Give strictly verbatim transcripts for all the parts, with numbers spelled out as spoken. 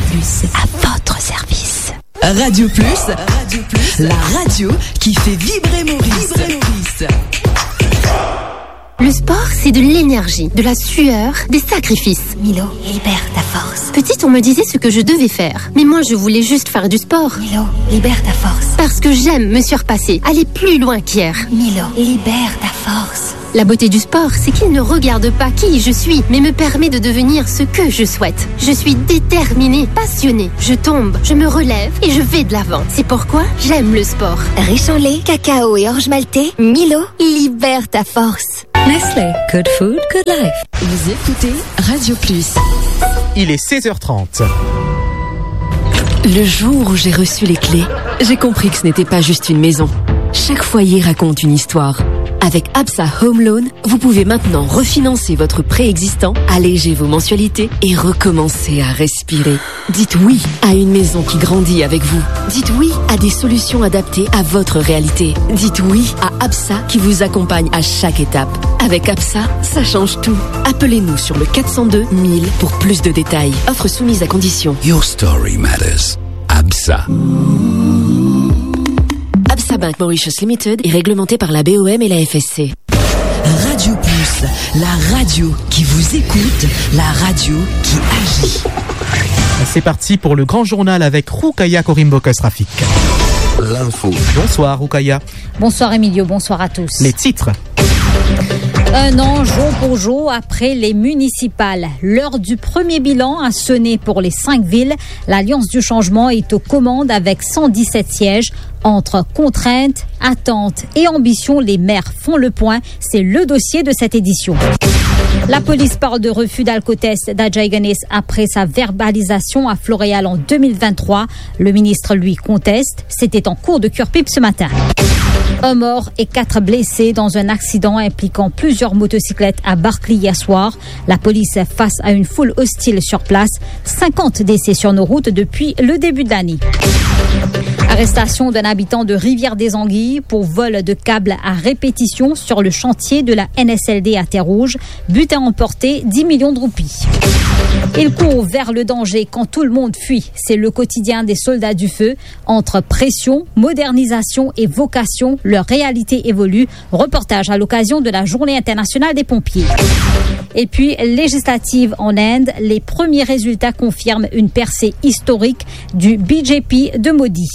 Plus, à votre service. Radio Plus, Radio Plus, la radio qui fait vibrer Maurice. Vibrer Maurice. Le sport, c'est de l'énergie, de la sueur, des sacrifices. Milo, libère ta force. Petite, on me disait ce que je devais faire. Mais moi, je voulais juste faire du sport. Milo, libère ta force. Parce que j'aime me surpasser, aller plus loin qu'hier. Milo, libère ta force. La beauté du sport, c'est qu'il ne regarde pas qui je suis, mais me permet de devenir ce que je souhaite. Je suis déterminée, passionnée. Je tombe, je me relève et je vais de l'avant. C'est pourquoi j'aime le sport. Riche en lait, cacao et orge maltais, Milo, libère ta force. Nestlé, good food, good life. Vous écoutez Radio Plus. Il est seize heures trente. Le jour où j'ai reçu les clés, j'ai compris que ce n'était pas juste une maison. Chaque foyer raconte une histoire. Avec ABSA Home Loan, vous pouvez maintenant refinancer votre prêt existant, alléger vos mensualités et recommencer à respirer. Dites oui à une maison qui grandit avec vous. Dites oui à des solutions adaptées à votre réalité. Dites oui à ABSA qui vous accompagne à chaque étape. Avec ABSA, ça change tout. Appelez-nous sur le quatre cent deux mille pour plus de détails. Offre soumise à conditions. Your story matters. ABSA. ABSA Bank Mauritius Limited est réglementé par la B O M et la F S C. Radio Plus, la radio qui vous écoute, la radio qui agit. C'est parti pour le grand journal avec Roukaya Korimbokas Rafik. L'info. Bonsoir Roukaya. Bonsoir Emilio, bonsoir à tous. Les titres. Un an jour pour jour après les municipales, l'heure du premier bilan a sonné pour les cinq villes. L'Alliance du Changement est aux commandes avec cent dix-sept sièges. Entre contraintes, attentes et ambitions, les maires font le point. C'est le dossier de cette édition. La police parle de refus d'alcotest d'Ajay Ganesh après sa verbalisation à Floréal en deux mille vingt-trois. Le ministre, lui, conteste. C'était en cours de cure-pipe ce matin. Un mort et quatre blessés dans un accident impliquant plusieurs motocyclettes à Barkly hier soir. La police face à une foule hostile sur place. Cinquante décès sur nos routes depuis le début de l'année. Arrestation d'un habitant de Rivière des Anguilles pour vol de câbles à répétition sur le chantier de la N S L D à Terre-Rouge. Butin emporté, dix millions de roupies. Il court vers le danger quand tout le monde fuit. C'est le quotidien des soldats du feu. Entre pression, modernisation et vocation, leur réalité évolue. Reportage à l'occasion de la Journée internationale des pompiers. Et puis, législatives en Inde, les premiers résultats confirment une percée historique du B J P de Modi.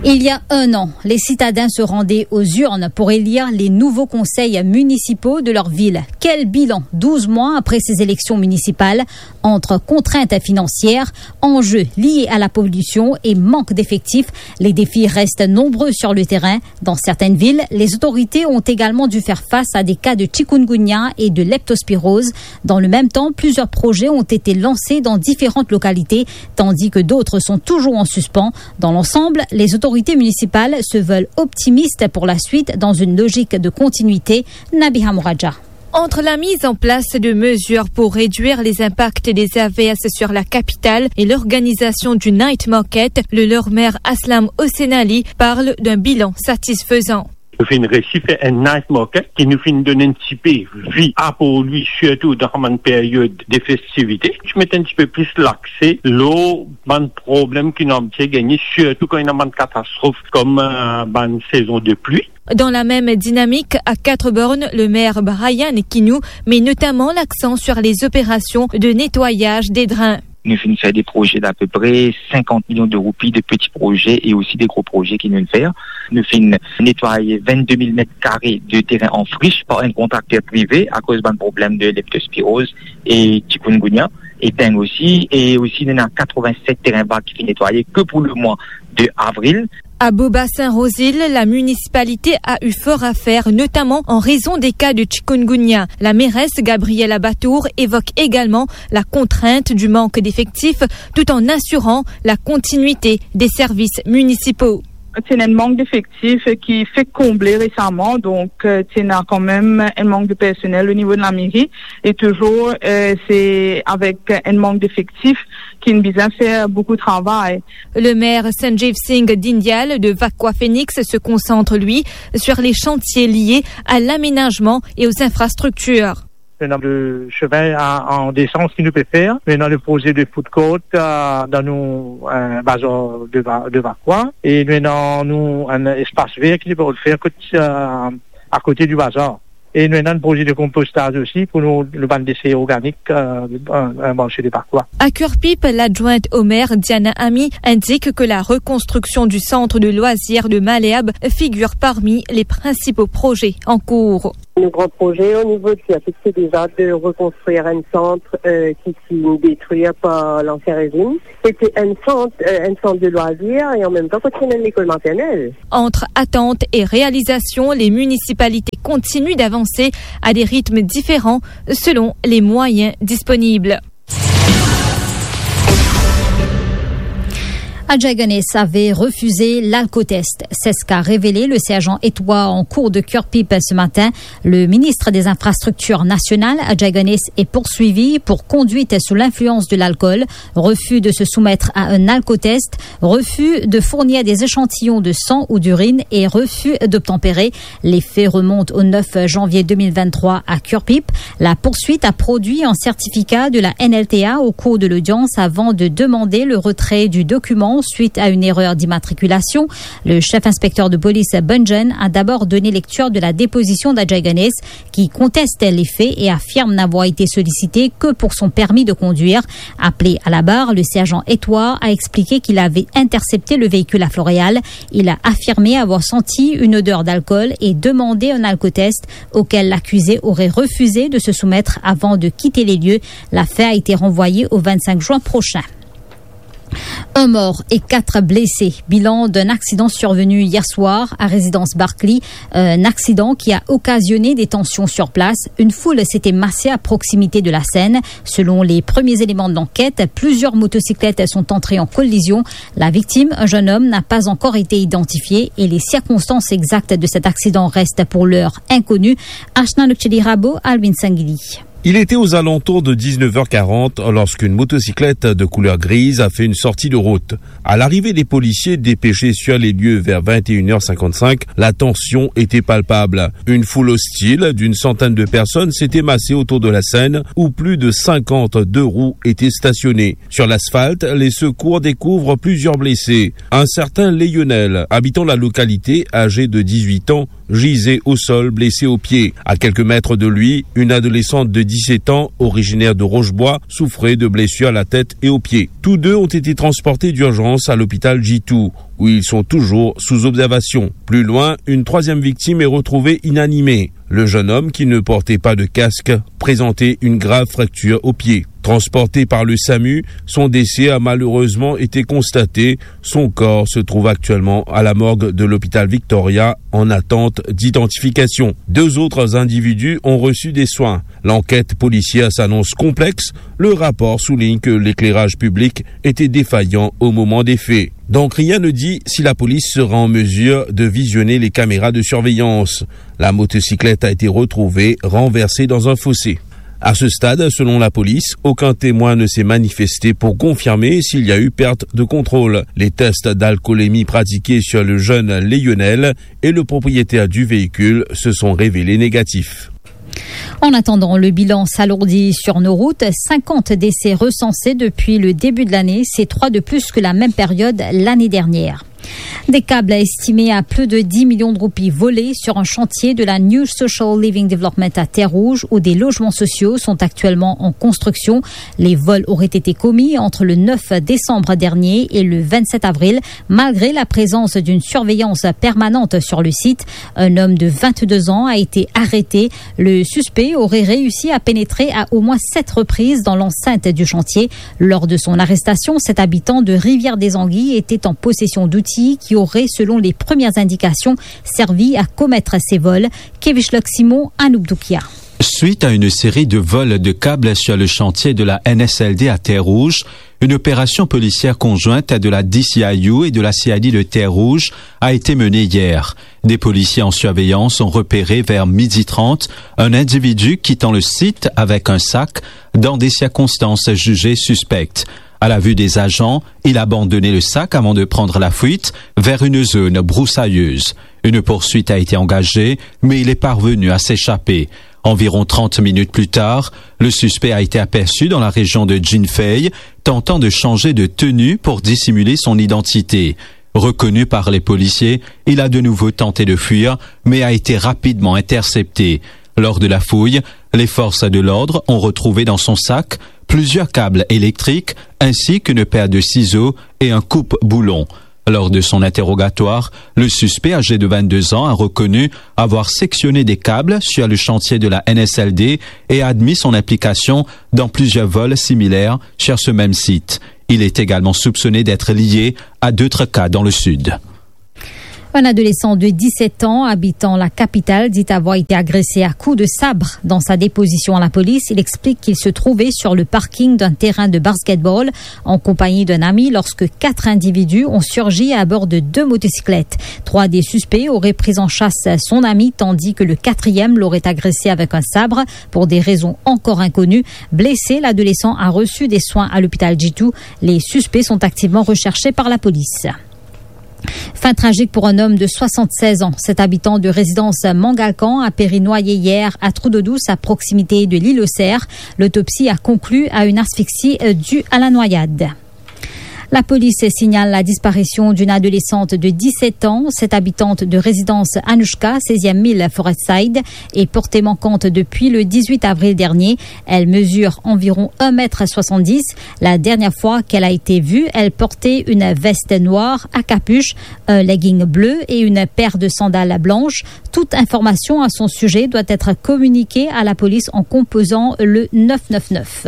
Il y a un an, les citadins se rendaient aux urnes pour élire les nouveaux conseils municipaux de leur ville. Quel bilan, douze mois après ces élections municipales ? Entre contraintes financières, enjeux liés à la pollution et manque d'effectifs, les défis restent nombreux sur le terrain. Dans certaines villes, les autorités ont également dû faire face à des cas de chikungunya et de leptospirose. Dans le même temps, plusieurs projets ont été lancés dans différentes localités, tandis que d'autres sont toujours en suspens. Dans l'ensemble, les autorités municipales se veulent optimistes pour la suite dans une logique de continuité. Nabiha Mouraja. Entre la mise en place de mesures pour réduire les impacts des averses sur la capitale et l'organisation du night market, le leur maire Aslam Hossein Ali parle d'un bilan satisfaisant. Nou finn resi fer enn night market ki nou finn donn enn tipe vi a pou li, sirtou dan bann period de festivite. Ti met enn tipe plis lakse lor bann problem ki nou abitie gagne, sirtou kan ena bann katastrof kom, euh, bann sezon de pli. Dans la même dynamique, à Quatre-Bornes, le maire Brian Quinou met notamment l'accent sur les opérations de nettoyage des drains. Nou finn fer de proze d'apepre sinkant milion de roupi, de peti proze e osi de gro proze ki nou finn fer. Nou finn netway vennde mil met kare de teren an frish par enn kontrakter prive akoz bann problem de leptospiroz e chikungunya e deng osi. E osi, nou ena katrevin-set teren vag ki finn netwaye ke pou lemwa de avril. À Beaubassin-Rosil, la municipalité a eu fort à faire, notamment en raison des cas de chikungunya. La mairesse Gabriella Batour évoque également la contrainte du manque d'effectifs, tout en assurant la continuité des services municipaux. Ti ena enn mank defektif ki fek konble resaman, donk, euh, ti ena kanmem enn mank de personel o nivo de lameri, e touzour, euh, se avek enn mank defektif ki nou bizin fer boukou travay. Le maire Sanjeev Singh Dhingyal de Vacoas Phoenix se concentre, lui, sur les chantiers liés à l'aménagement et aux infrastructures. Nou ena le semin a, an desans ki nou pe fer. Nou ena le proze de food court, euh, dan nou, euh, bazar de Va-, de Vacoas. E nou ena nou enn espas ver ki nou pe fer kot, euh, akote di bazar. E nou ena enn proze de konpostaz osi pou nou, nou bann dese organik, euh, an, an marse de Vacoas. À Curepipe, l'adjointe au maire, Diana Ami, indique que la reconstruction du centre de loisirs de Malherbe figure parmi les principaux projets en cours. Nos grands projets au niveau de Curepipe, c'est déjà de reconstruire un centre, euh, qui, qui est détruit par l'ancien régime. C'était un centre, euh, un centre de loisirs et en même temps, continuer l'école maternelle. Entre attente et réalisation, les municipalités continuent d'avancer à des rythmes différents selon les moyens disponibles. Ajay Ganesh avait refusé l'alcotest. C'est ce qu'a révélé le sergent Etoua en cour de Curepipe ce matin. Le ministre des Infrastructures nationales, Ajay Ganesh, est poursuivi pour conduite sous l'influence de l'alcool, refus de se soumettre à un alcotest, refus de fournir des échantillons de sang ou d'urine et refus d'obtempérer. Les faits remontent au neuf janvier deux mille vingt-trois à Curepipe. La poursuite a produit un certificat de la N L T A au cours de l'audience avant de demander le retrait du document suite à une erreur d'immatriculation. Le chef inspecteur de police, Bunjen, a d'abord donné lecture de la déposition d'Ajay Ganesh, qui conteste les faits et affirme n'avoir été sollicité que pour son permis de conduire. Appelé à la barre, le sergent Etoua a expliqué qu'il avait intercepté le véhicule à Floréal. Il a affirmé avoir senti une odeur d'alcool et demandé un alcotest, auquel l'accusé aurait refusé de se soumettre avant de quitter les lieux. L'affaire a été renvoyée au vingt-cinq juin prochain. Un mort et quatre blessés. Bilan d'un accident survenu hier soir à résidence Barclay. Un accident qui a occasionné des tensions sur place. Une foule s'était massée à proximité de la scène. Selon les premiers éléments de l'enquête, plusieurs motocyclettes sont entrées en collision. La victime, un jeune homme, n'a pas encore été identifié et les circonstances exactes de cet accident restent pour l'heure inconnues. Ashna Nokcheli Rabo, Alvin Sangili. Il était aux alentours de dix-neuf heures quarante lorsqu'une motocyclette de couleur grise a fait une sortie de route. À l'arrivée des policiers dépêchés sur les lieux vers vingt et une heures cinquante-cinq, la tension était palpable. Une foule hostile d'une centaine de personnes s'était massée autour de la scène où plus de cinquante deux roues étaient stationnées. Sur l'asphalte, les secours découvrent plusieurs blessés. Un certain Lionel, habitant la localité, âgé de dix-huit ans, gisait au sol, blessé au pied. À quelques mètres de lui, une adolescente de dix-sept ans, originaire de Rochebois, souffrait de blessures à la tête et aux pieds. Tous deux ont été transportés d'urgence à l'hôpital Jitou, où ils sont toujours sous observation. Plus loin, une troisième victime est retrouvée inanimée. Le jeune homme, qui ne portait pas de casque, présentait une grave fracture au pied. Transporté par le SAMU, son décès a malheureusement été constaté. Son corps se trouve actuellement à la morgue de l'hôpital Victoria en attente d'identification. Deux autres individus ont reçu des soins. L'enquête policière s'annonce complexe. Le rapport souligne que l'éclairage public était défaillant au moment des faits. Donc rien ne dit si la police sera en mesure de visionner les caméras de surveillance. La motocyclette a été retrouvée renversée dans un fossé. À ce stade, selon la police, aucun témoin ne s'est manifesté pour confirmer s'il y a eu perte de contrôle. Les tests d'alcoolémie pratiqués sur le jeune Lionel et le propriétaire du véhicule se sont révélés négatifs. En attendant, le bilan s'alourdit sur nos routes. Cinquante décès recensés depuis le début de l'année, c'est trois de plus que la même période l'année dernière. Des câbles estimés à plus de dix millions de roupies volés sur un chantier de la New Social Living Development à Terre-Rouge, où des logements sociaux sont actuellement en construction. Les vols auraient été commis entre le neuf décembre dernier et le vingt-sept avril, malgré la présence d'une surveillance permanente sur le site. Un homme de vingt-deux ans a été arrêté. Le suspect aurait réussi à pénétrer à au moins sept reprises dans l'enceinte du chantier. Lors de son arrestation, cet habitant de Rivière-des-Anguilles était en possession d'outils qui auraient, selon les premières indications, servi à commettre ces vols. Kevish Lok Simon, Anouk Doukia. Suite à une série de vols de câbles sur le chantier de la N S L D à Terre-Rouge, une opération policière conjointe de la D C I U et de la C I D de Terre-Rouge a été menée hier. Des policiers en surveillance ont repéré vers midi trente un individu quittant le site avec un sac dans des circonstances jugées suspectes. À la vue des agents, il abandonnait le sac avant de prendre la fuite vers une zone broussailleuse. Une poursuite a été engagée, mais il est parvenu à s'échapper. Environ trente minutes plus tard, le suspect a été aperçu dans la région de Jinfei, tentant de changer de tenue pour dissimuler son identité. Reconnu par les policiers, il a de nouveau tenté de fuir, mais a été rapidement intercepté. Lors de la fouille, les forces de l'ordre ont retrouvé dans son sac plusieurs câbles électriques ainsi qu'une paire de ciseaux et un coupe-boulon. Lors de son interrogatoire, le suspect âgé de vingt-deux ans a reconnu avoir sectionné des câbles sur le chantier de la N S L D et a admis son implication dans plusieurs vols similaires sur ce même site. Il est également soupçonné d'être lié à d'autres cas dans le sud. Un adolescent de dix-sept ans, habitant la capitale, dit avoir été agressé à coups de sabre. Dans sa déposition à la police, il explique qu'il se trouvait sur le parking d'un terrain de basketball en compagnie d'un ami lorsque quatre individus ont surgi à bord de deux motocyclettes. Trois des suspects auraient pris en chasse son ami, tandis que le quatrième l'aurait agressé avec un sabre. Pour des raisons encore inconnues, blessé, l'adolescent a reçu des soins à l'hôpital Djitou. Les suspects sont activement recherchés par la police. Fin tragique pour un homme de soixante-seize ans. Cet habitant de résidence Mangalkan a péri noyé hier à Trou d'Eau Douce, à proximité de l'île aux Cerfs. L'autopsie a conclu à une asphyxie, euh, due à la noyade. La police signale la disparition d'une adolescente de dix-sept ans. Cette habitante de résidence Anouchka, seizième mille Forest Side, est portée manquante depuis le dix-huit avril dernier. Elle mesure environ un mètre soixante-dix. La dernière fois qu'elle a été vue, elle portait une veste noire à capuche, un legging bleu et une paire de sandales blanches. Toute information à son sujet doit être communiquée à la police en composant le neuf neuf neuf.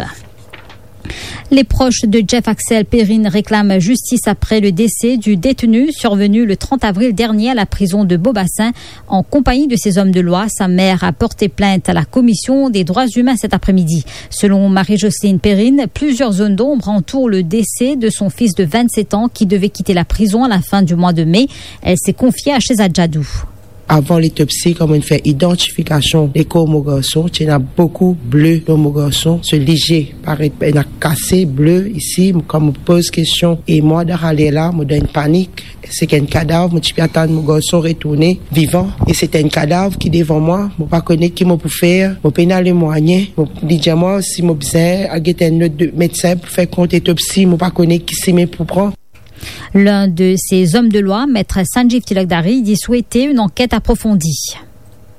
Les proches de Jeff Axel Perrine réclament justice après le décès du détenu survenu le trente avril dernier à la prison de Beaubassin en compagnie de ses hommes de loi. Sa mère a porté plainte à la Commission des droits humains cet après-midi. Selon Marie-Jocelyne Perrine, plusieurs zones d'ombre entourent le décès de son fils de vingt-sept ans qui devait quitter la prison à la fin du mois de mai. Elle s'est confiée à Shehzad Jadoo. Avan letopsi, kan mo'nn fer idantifikasion lekor mo garson, ti ena boukou ble lor mo garson. So lizie paret ena kase ble isi. Kan mo poz kestion, e mwa dan sa ler la, mo dan enn panik. Seki enn kadav, mo ti pe atann mo garson retourne vivan. E seki enn kadav ki devan mwa, mo pa kone ki mo pou fer, mo pena lemwayen. Mo, li dir mwa si mo bizin al get enn lot de medsin pou fer kont letopsi, mo pa kone ki simin pou pran. L'un de ses hommes de loi, Maître Sanjeev Tilakdari, dit souhaiter une enquête approfondie.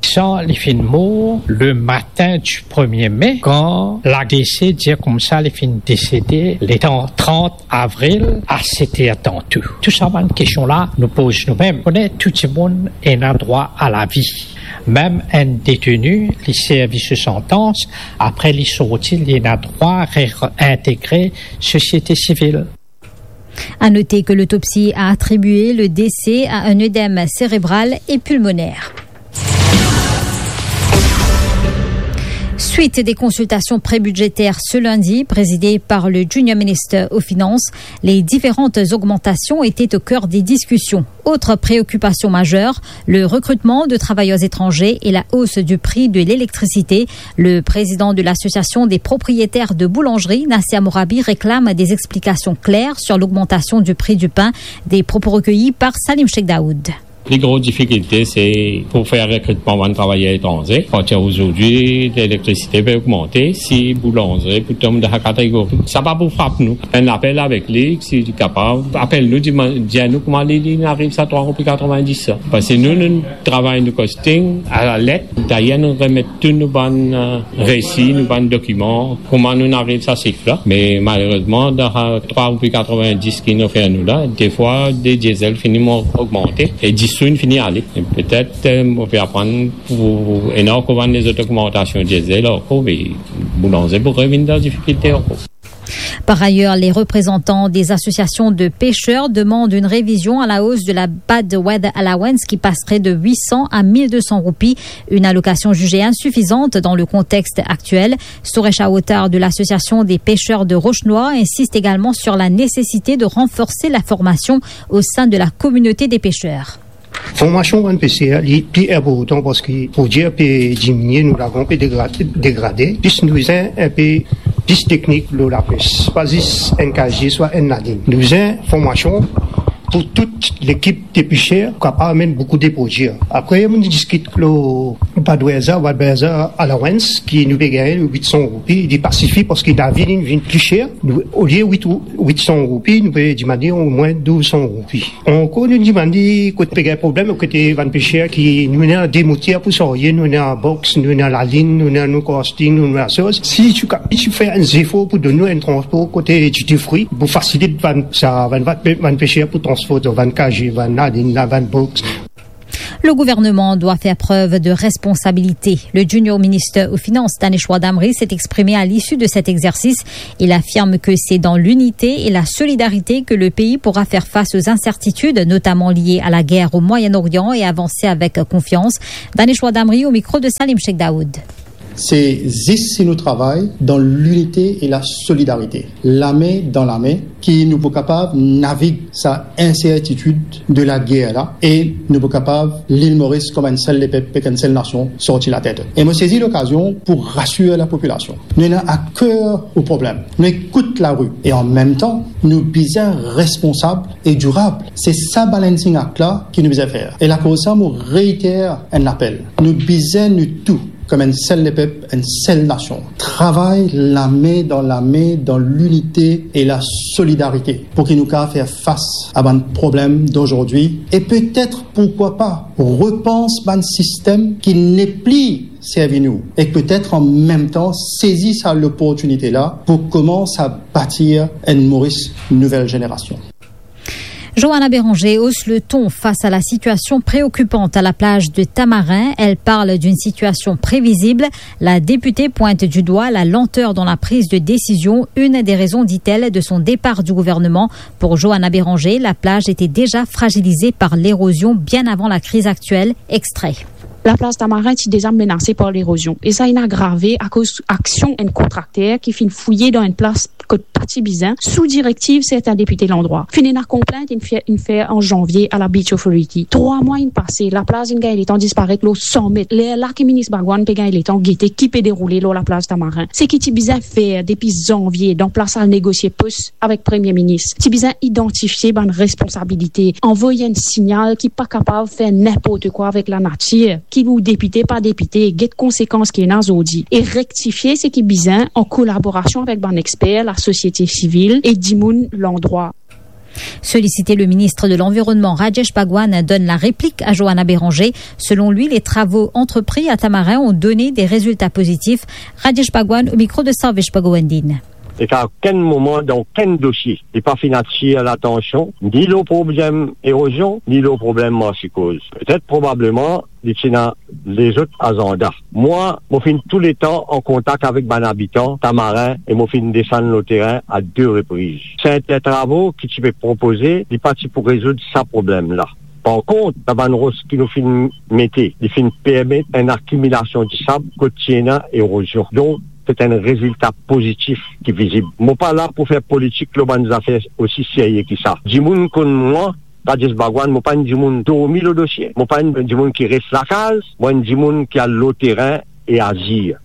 Sa li finn mor le matin du premier mai, kan la DC dir koumsa li finn desede letan trant avril a set er tanto. Tou sa bann kestion la nou poz noumem. Kone tou dimoun ena drwa a lavi. Mem enn deteni, li servi so santans, apre li sorti, li ena drwa reintegre sosiete sivil. À noter que l'autopsie a attribué le décès à un œdème cérébral et pulmonaire. Suite des consultations prébudgétaires ce lundi, présidées par le Junior Minister aux Finances, les différentes augmentations étaient au cœur des discussions. Autre préoccupation majeure, le recrutement de travailleurs étrangers et la hausse du prix de l'électricité. Le président de l'association des propriétaires de boulangerie, Nasser Amorabi, réclame des explications claires sur l'augmentation du prix du pain. Des propos recueillis par Salim Cheikh Daoud. Pli gro difikilte, se pou fer rekritman bann travayer etranze. Partir azordi, lelektrisite pe ogmante, si boulanzri pou tom dan sa kategori, sa pa pou frap nou. Fer enn lapel avek li, si li kapav apel nou, dir nou kouma li, li ariv sa trwa roupi katrovin-dis sa. Parski nou, nou travay nou costing a la let. Dayer nou remet tou nou bann, eh, resi, nou bann dokiman, kouma nou ariv sa sif la. Me malerezman, dan sa trwa roupi katrovin-dis ki nou ofer nou la, defwa de diesel fini mo-, ogmante e dis sou inn fini ale. E petet, eh, mo pe aprann pou ena ankor bann lezot ogmantasion diesel ankor, me boulanzri pou revinn dan difikilte ankor. Par ailleurs, les représentants des associations de pêcheurs demandent une révision à la hausse de la bad weather allowance qui passerait de huit cents à mille deux cents roupies, une allocation jugée insuffisante dans le contexte actuel. Suresh Awotar de l'association des pêcheurs de Roche-Noire insiste également sur la nécessité de renforcer la formation au sein de la communauté des pêcheurs. Formasion bann peser, li pli inportan parski prodwir pe diminie, nou lagon pe degra-, degrade. Plis nou bizin inpe plis teknik lor lapes. Pa zis enn kazie swa enn lalinn. Nou bizin formasion pou tou lekip de peser, kapav amenn boukou de prodwi. Apre, nou diskit lor bad weather, bad weather allowance, ki nou pe gagn wit san roupi, li pa sifi parski lavi li vinn pli ser. Nou, olie wit, wit san roupi, nou pe dimande omwin douz san roupi. Ankor, nou dimann li kot pe gagn problem, kote bann peser ki nou ena de moter pou sarye, nou ena box, nou ena lalinn, nou ena nou casting, nou ena soz. Si ti ka-, ti fer enn zefor pou donn nou enn transpor kote ti de fri, pou fasilit bann, sa, bann, bann, bann peser pou transpor bann kaze, bann lalinn la, bann box. Le gouvernement doit faire preuve de responsabilité. Le junior ministre aux Finances, Daneshwar Damri, s'est exprimé à l'issue de cet exercice. Il affirme que c'est dans l'unité et la solidarité que le pays pourra faire face aux incertitudes, notamment liées à la guerre au Moyen-Orient, et avancer avec confiance. Daneshwar Damri au micro de Salim Cheikh Daoud. Se zis si nou travay dan linite e la solidarite, lame dan lame, ki nou pou kapav navig sa insertitid de lager la, e nou pou kapav Lil Moris kouma enn sel lepep ek enn sel nasion sorti latet. E mo sezi lokazion pou rasir lapopilasion. Nou ena a ker o problem. Nou ekout lari e an mem tan, nou bizin responsab e dirab. Se sa balancing act la ki nou bizin fer. E lakoz sa, mo reiter enn lapel. Nou bizin nou tou, kouma enn sel lepep, enn sel nasion, travay lame dan lame dan linite e la solidarite pou ki nou kapav fer fas a bann problem d'aujourd'hui e petet, pourquoi pas, repans bann sistem ki nepli servi nou e petet an mem tan sezi sa loportinite la pou koumans a batir enn Moris nouvel zenerasion. Johanna Béranger hausse le ton face à la situation préoccupante à la plage de Tamarin. Elle parle d'une situation prévisible. La députée pointe du doigt la lenteur dans la prise de décision, une des raisons, dit-elle, de son départ du gouvernement. Pour Johanna Béranger, la plage était déjà fragilisée par l'érosion bien avant la crise actuelle. Extrait. Laplaz Tamarin ti deza menase par lerozion, e sa inn agrave akoz aksion enn kontrakter ki finn fouye dan enn plas kot pa ti bizin, sou direktiv sertin depite landrwa. Finn ena konplint inn fer, inn fer an zanvie a la Beach Authority. Trwa mwa inn pase, laplaz inn gagn letan disparet lor san met. Lerla ki minis Bhagwan pe gagn letan gete ki pe deroule lor laplaz Tamarin. Seki ti bizin fer depi zanvie, dan plas al negosie pos avek Premie Minis, ti bizin idantifie bann responsabilite, anvoy enn signal ki pa kapav fer ninport kwa avek lanatir, ki ou depite, pa depite, get konsekans ki ena zordi, e rektifie seki bizin an kolaborasion avek bann exper, lasosiete sivil e dimoun landrwa. Sollicité, le ministre de l'Environnement, Rajesh Bhagwan, donne la réplique à Johanna Béranger. Selon lui, les travaux entrepris à Tamarin ont donné des résultats positifs. Rajesh Bhagwan au micro de Sarvesh Bhagwandin. E ka okenn moman dan okenn dosie, li pa finn atir latansion, ni lor problem erozion, ni lor problem marsikoz. Petet, probableman, li ti ena lezot azanda. Mwa, mo finn touletan an kontak avek bann abitan Tamarin e mo finn desann lor terin a de repriz. Sertin travo ki ti pe propoze, li pa ti pou rezoud sa problem la. Par kont, sa bann ros ki nou finn mete, li finn permet enn akimilasion disab kot ti ena erozion. Donk, se enn rezilta pozitif ki vizib. Mo pa la pou fer politik lor bann zafer osi serye ki sa. Dimoun konn mwa, Rajesh Bhagwan, mo pa enn dimoun dormi lor dosie, mo pa enn dimoun ki res lakaz, mo enn dimoun ki al lor terin e azir.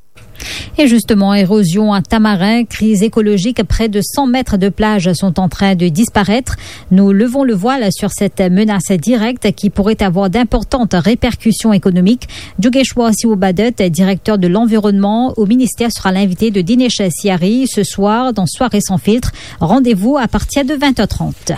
Et justement, érosion à Tamarin, crise écologique, près de cent mètres de plage sont en train de disparaître. Nous levons le voile sur cette menace directe qui pourrait avoir d'importantes répercussions économiques. Jogeshwar Siwobadut, directeur de l'environnement au ministère, sera l'invité de Dinesh Sihari ce soir dans Soirée sans filtre. Rendez-vous à partir de vingt heures trente.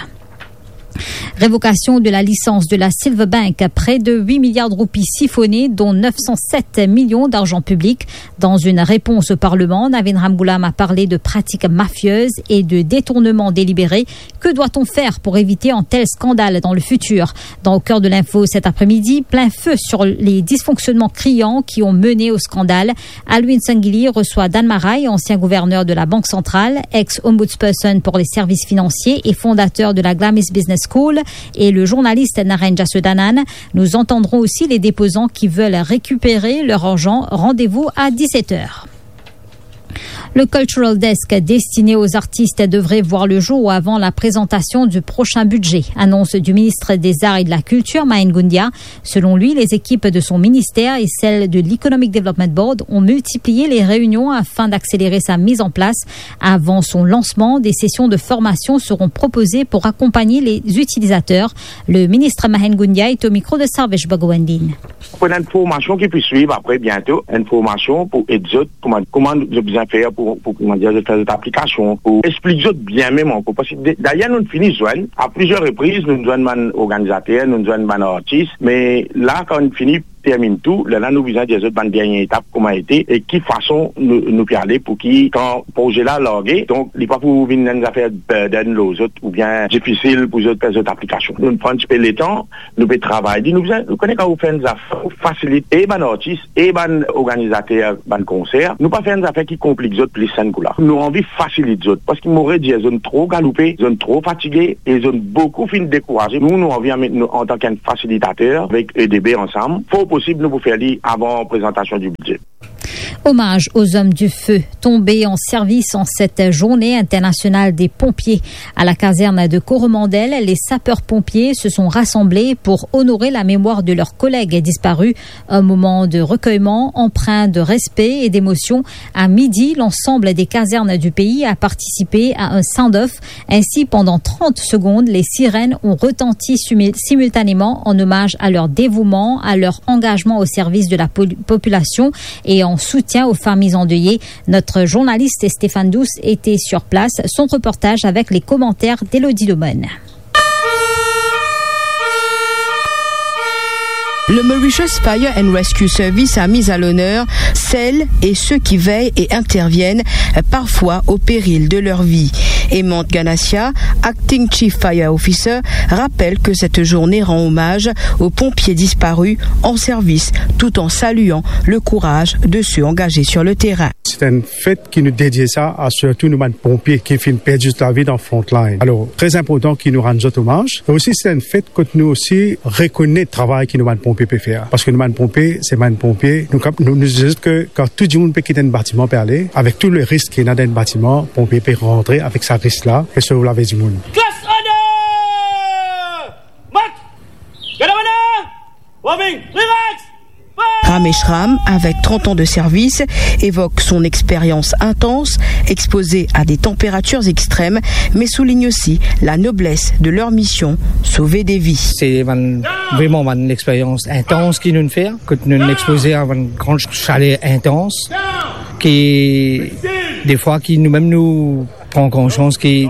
Révocation de la licence de la Silverbank, près de huit milliards de roupies siphonnées, dont neuf cent sept millions d'argent public. Dans une réponse au Parlement, Navin Ramgoolam a parlé de pratiques mafieuses et de détournement délibéré. Que doit-on faire pour éviter un tel scandale dans le futur ? Dans Au cœur de l'info cet après-midi, plein feu sur les dysfonctionnements criants qui ont mené au scandale. Alwin Sangili reçoit Dan Maray, ancien gouverneur de la Banque centrale, ex-ombudsperson pour les services financiers et fondateur de la Glamis Business School, et le journaliste Naren Jasudanan. Nous entendrons aussi les déposants qui veulent récupérer leur argent. Rendez-vous à dix-sept heures. Le Cultural Desk destiné aux artistes devrait voir le jour avant la présentation du prochain budget. Annonce du ministre des Arts et de la Culture, Mahen Goundia. Selon lui, les équipes de son ministère et celles de l'Economic Development Board ont multiplié les réunions afin d'accélérer sa mise en place. Avant son lancement, des sessions de formation seront proposées pour accompagner les utilisateurs. Le ministre Mahen Goundia est au micro de Sarvesh Bhagwandin. Pou enn formasion ki pou swiv apre biento, enn formasion pou ed zot kouma, kouma zot bizin fer pou, pou, kouma dir, zot fer zot aplikasion, pou explik zot bien mem ankor. Parski de-, dayer nou fini zwenn, a plizier repriz, nou zwenn bann organizater, nou zwenn bann artis, me la, kan nou fini terminn tou, lerla nou bizin dir zot bann dernie etap kouma ete e ki fason nou, nou pe ale pou ki kan proze la large, donk li pa pou vinn enn zafer burden lor zot oubien difisil pou zot fer zot aplikasion. Nou pran tipe letan, nou pe travay. Li nou bizin, nou kone kan ou fer enn zafer, ou fasilit e bann artis, e bann organizater, bann konser. Nou pa fer enn zafer ki konplik zot plis enn kou la. Nou anvi fasilit zot, parski mo redir, zot tro galoupe, zot tro fatige, e zot boukou finn dekouraze. Nou, nou anvi amenn, nou, antan ki enn fasilitater, avek E D B ansam, for posib nou pou fer li avan prezantasion di bidze. Hommage aux hommes du feu tombés en service en cette journée internationale des pompiers. À la caserne de Coromandel, les sapeurs-pompiers se sont rassemblés pour honorer la mémoire de leurs collègues disparus. Un moment de recueillement empreint de respect et d'émotion. À midi, l'ensemble des casernes du pays a participé à un sound-off. Ainsi, pendant trente secondes, les sirènes ont retenti simul-, simultanément en hommage à leur dévouement, à leur engagement au service de la pol-, population et en soutien aux familles endeuillées. Notre journaliste Stéphane Douce était sur place. Son reportage avec les commentaires d'Elodie Domen. Le Mauritius Fire and Rescue Service a mis à l'honneur celles et ceux qui veillent et interviennent, euh, parfois au péril de leur vie. Hemant Ganasya, Acting Chief Fire Officer, rappelle que cette journée rend hommage aux pompiers disparus en service, tout en saluant le courage de ceux engagés sur le terrain. C'est une fête qui nous dédie ça à surtout nous, bann pompiers qui finn perdi zot lavi dan frontline. Alors, très important ki nou rann zot omaz. E osi, se enn fet kot nou osi rekonet travay ki nou bann ponpie pe fer. Paske nou bann ponpie, se bann ponpie. Nou kap-, nou, nou dir ke kan tou dimoun pe kit enn batiman pe ale, avek tou le risk ki ena dan enn batiman, ponpie pe rantre avek sa risk la, pe sov lavi dimoun. Class order! March! Gardez maintenant! Warming! Relax! Ramesh Ram, avec trente ans de service, évoque son expérience intense, exposée à des températures extrêmes, mais souligne aussi la noblesse de leur mission, sauver des vies. Se bann, vreman bann lexperyans intans ki nou fer, kot nou expoze a bann gran chaler intans, ki defwa ki nou mem nou pran konsians ki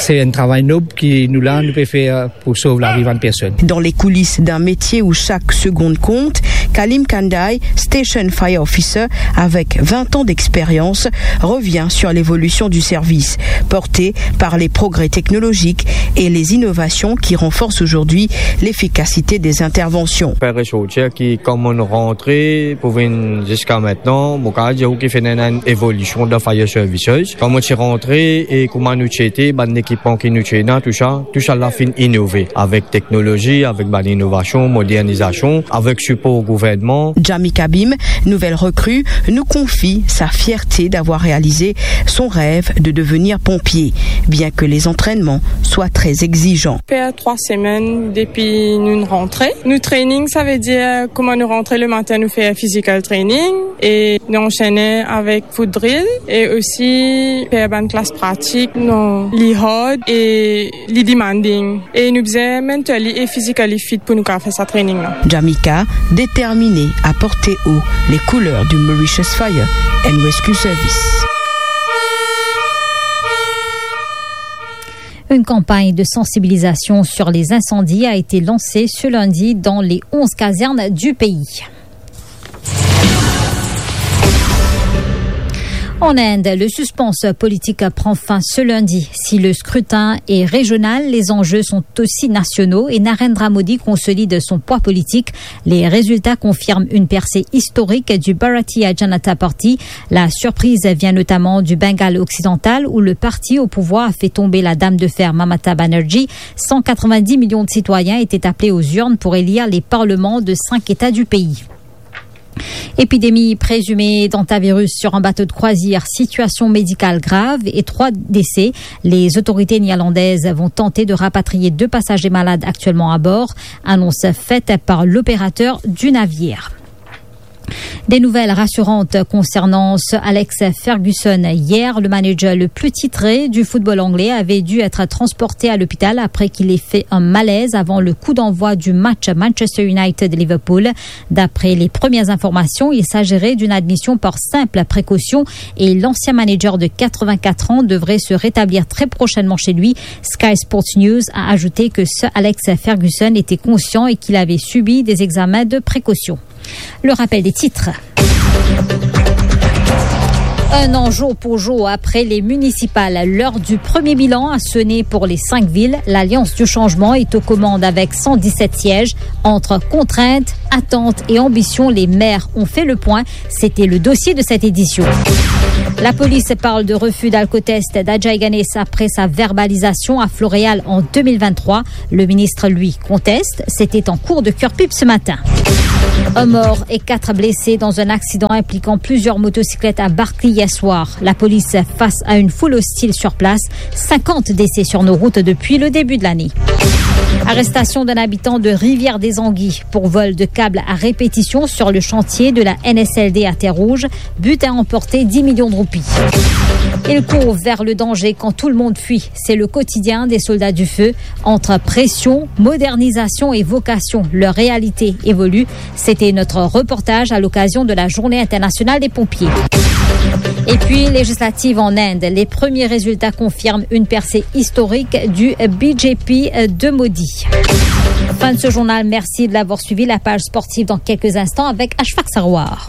se enn travay nob ki nou la, nou pe fer pou sov lavi bann personn. Dans les coulisses d'un métier où chaque seconde compte, Kalim Kandai, Station Fire Officer, avec vingt ans d'expérience, revient sur l'évolution du service, porté par les progrès technologiques et les innovations qui renforcent aujourd'hui l'efficacité des interventions. Fer resortir ki kouma nou rantre pou vinn ziska aster, mo kapav dir ou ki finn ena enn evolision dan fire services. Kan mo ti rantre e kouma nou ti ete, bann ekipman ki nou ti ena, tou sa, tou sa la finn inove avek teknolozi, avek bann inovasion, modernizasion, avek sipor gouvernman. Jamie Kabim, nouvelle recrue, nous confie sa fierté d'avoir réalisé son rêve de devenir pompier, bien que les entraînements soient très exigeants. Fer trwa semenn depi nou rantre. Nou training, savedir kouma nou rantre lematin, nou fer physical training e nou ansene avek foot drill e osi fer bann klas pratik, nou li hard e li demanding. E nou bizin mentally e physically fit pou nou kapav fer sa training la. Jamika, déterminée à porter haut les couleurs du Mauritius Fire and Rescue Service. Une campagne de sensibilisation sur les incendies a été lancée ce lundi dans les onze casernes du pays. En Inde, le suspense politique prend fin ce lundi. Si le scrutin est régional, les enjeux sont aussi nationaux et Narendra Modi consolide son poids politique. Les résultats confirment une percée historique du Bharatiya Janata Party. La surprise vient notamment du Bengale occidental, où le parti au pouvoir a fait tomber la dame de fer Mamata Banerjee. Cent quatre-vingt-dix millions de citoyens étaient appelés aux urnes pour élire les parlements de cinq États du pays. Épidémie présumée d'hantavirus sur un bateau de croisière, situation médicale grave et trois décès. Les autorités néerlandaises vont tenter de rapatrier deux passagers malades actuellement à bord, annonce faite par l'opérateur du navire. Des nouvelles rassurantes concernant Sir Alex Ferguson. Hier, le manager le plus titré du football anglais avait dû être transporté à l'hôpital après qu'il ait fait un malaise avant le coup d'envoi du match Manchester United-Liverpool. D'après les premières informations, il s'agirait d'une admission par simple précaution et l'ancien manager de quatre-vingt-quatre ans devrait se rétablir très prochainement chez lui. Sky Sports News a ajouté que Sir Alex Ferguson était conscient et qu'il avait subi des examens de précaution. Le rappel des titres. Un an jour pour jour après les municipales, l'heure du premier bilan a sonné pour les cinq villes. L'Alliance du changement est aux commandes avec cent dix-sept sièges. Entre contraintes, attentes et ambitions, les maires ont fait le point. C'était le dossier de cette édition. La police parle de refus d'alcotest d'Ajay Ganesh après sa verbalisation à Floréal en deux mille vingt-trois. Le ministre, lui, conteste. C'était en cours de Curepipe ce matin. Un mort et quatre blessés dans un accident impliquant plusieurs motocyclettes à Barquilly hier soir. La police face à une foule hostile sur place. Cinquante décès sur nos routes depuis le début de l'année. Arrestation d'un habitant de Rivière-des-Anguilles pour vol de câbles à répétition sur le chantier de la N S L D à Terre-Rouge. Butin emporté, dix millions de roupies. Il court vers le danger quand tout le monde fuit. C'est le quotidien des soldats du feu. Entre pression, modernisation et vocation, leur réalité évolue. C'était notre reportage à l'occasion de la Journée internationale des pompiers. Et puis, législatives en Inde, les premiers résultats confirment une percée historique du B J P de Modi. Fin de ce journal, merci de l'avoir suivi. La page sportive dans quelques instants avec Ashfaq Sarwar.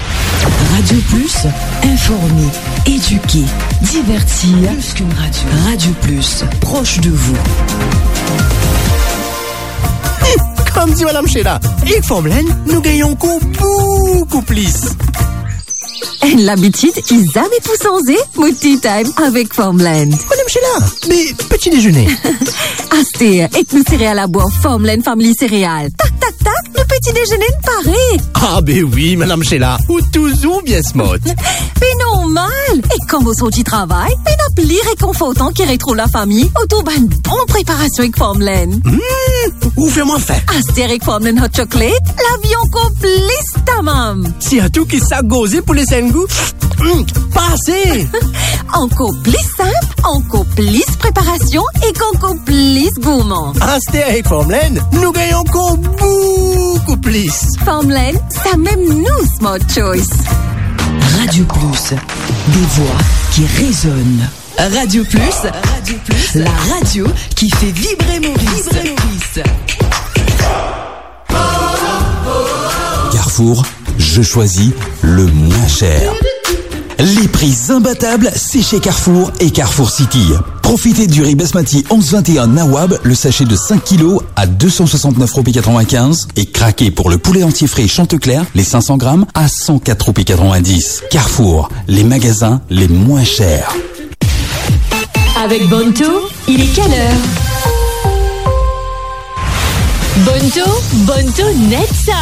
Radio Plus, informer, éduquer, divertir. Plus qu'une radio. Radio Plus, proche de vous. Kouma dir Madam Sheila, ek Farmland, nou gagn ankor boukou plis. Enn labitid ki zame pou sanze, mo tea time avek Farmland. Madam Sheila, me peti dezene? Aster, ek nou sereal labwa Farmland Family Cereal. Tak, tak, tak, nou peti dezene pare. Ah, be wi, Madam Sheila, ou touzour bien smart. Be normal, e kan mo sorti travay, pena pli rekonfortan ki retrouv lafami otour bann bon preparasion ek Farmland. Hmm, ou fer mwa fin. Aster ek Farmland Hot Chocolate, lavi ankor plis tamam. Sirtou ki sak gorze pou les enn gou. Hmm, pase! Ankor plis sinp, ankor plis preparasion ek ankor plis gourman. Aster ek Farmland, nou gagn ankor boukou plis. Farmland, samem nou smart choice. Radio Plus, des voix qui résonnent. Radio Plus, Radio Plus, la radio qui fait vibrer Maurice. Vibrer Maurice. Carrefour, je choisis le moins cher. Les prix imbattables, c'est chez Carrefour et Carrefour City. Profitez du riz basmati onze vingt et un Nawab, le sachet de cinq kilos à deux cent soixante-neuf roupies quatre-vingt-quinze, et craquez pour le poulet entier frais Chanteclair, les cinq cents grammes, à cent quatre roupies quatre-vingt-dix. Carrefour, les magasins les moins chers. Avec Bonto, il est quelle heure ? Bonto, Bonto, net sa.